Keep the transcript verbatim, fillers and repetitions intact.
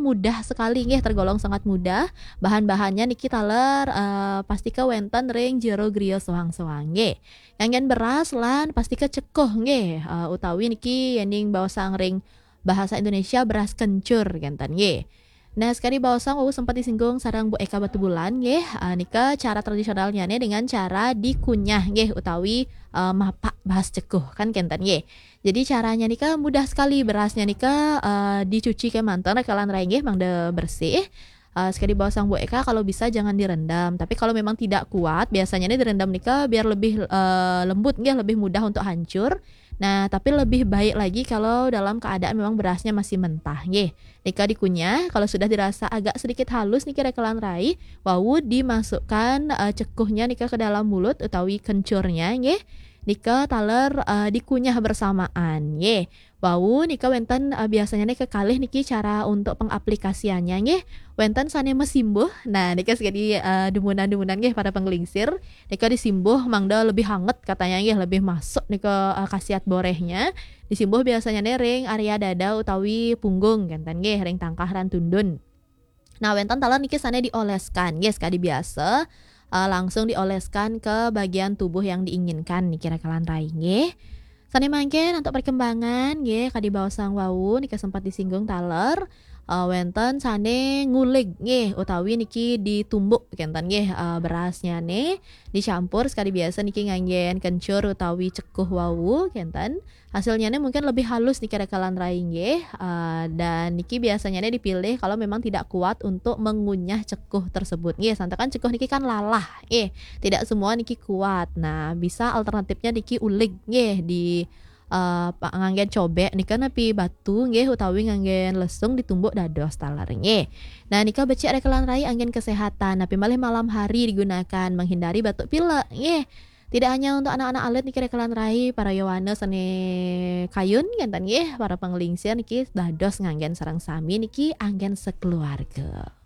mudah sekali nggih, tergolong sangat mudah. Bahan-bahannya niki taler, eh, pastika wenten ring jero griya soang-soang nggih. Nganggen beras lan pastika cekuh nggih, eh, utawi niki yening baosang ring bahasa Indonesia beras kencur kenten nggih. Nah, sekadi baosang wau sempat disinggung sareng Bu Eka Batubulan nggih, eh, nika cara tradisionalnya nih dengan cara dikunyah nggih utawi, eh, mapak bahas cekuh kan kenten nggih. Jadi caranya nika mudah sekali, berasnya nika, eh, dicuci kemanten rekelan rai nggih mangda bersih. Eh, sekadi baosang Bu Eka, kalau bisa jangan direndam. Tapi kalau memang tidak kuat, biasanya nih direndam nika biar lebih, eh, lembut nggih, lebih mudah untuk hancur. Nah, tapi lebih baik lagi kalau dalam keadaan memang berasnya masih mentah nggih. Nika dikunyah, kalau sudah dirasa agak sedikit halus niki rekelan rai, wau dimasukkan, eh, cekuhnya nika ke dalam mulut utawi kencurnya nggih. Nika taler, eh, dikunyah bersamaan nggih. Wau nika wenten, eh, biasanya nih kekalih niki cara untuk pengaplikasiannya nggih. Wenten sane mesimbuh. Nah, nika sekadi, eh, dumunan-dumunan nggih para penglingsir. Nika disimbuh mangda lebih hangat katanya nggih, lebih masuk nika, eh, khasiat borehnya. Disimbuh biasanya nih ring area dada utawi punggung kenten nggih, ring tangkah lan tundun. Nah, wenten taler niki sane dioleskan nggih, sekadi biasa, eh, langsung dioleskan ke bagian tubuh yang diinginkan niki rekelan rai nggih. Sane mangkin untuk perkembangan nggih, kadi baosang wau nika sempat disinggung taler, eh, wenten sane ngulig nggih utawi niki ditumbuk kenten nggih, eh, berasnya nih dicampur sekadi biasa niki nganggen kencur utawi cekuh wau kenten. Hasilnya nih mungkin lebih halus niki rekelan rai nggih, eh, dan niki biasanya nih dipilih kalau memang tidak kuat untuk mengunyah cekuh tersebut nggih. Santakan cekuh niki kan lalah nggih, tidak semua niki kuat. Nah, bisa alternatifnya niki ulig nggih di, eh, pa-, nganggen cobek nika napi batu nggih utawi nganggen lesung ditumbuk dados taler nggih. Nah, nika becik rekelan rai anggen kesehatan, napi malih malam hari digunakan menghindari batuk pilek nggih. Tidak hanya untuk anak-anak alit niki rekelan rai, para yowana sane kayun kenten nggih, para penglingsir niki dados nganggen sareng sami niki anggen sekeluarga.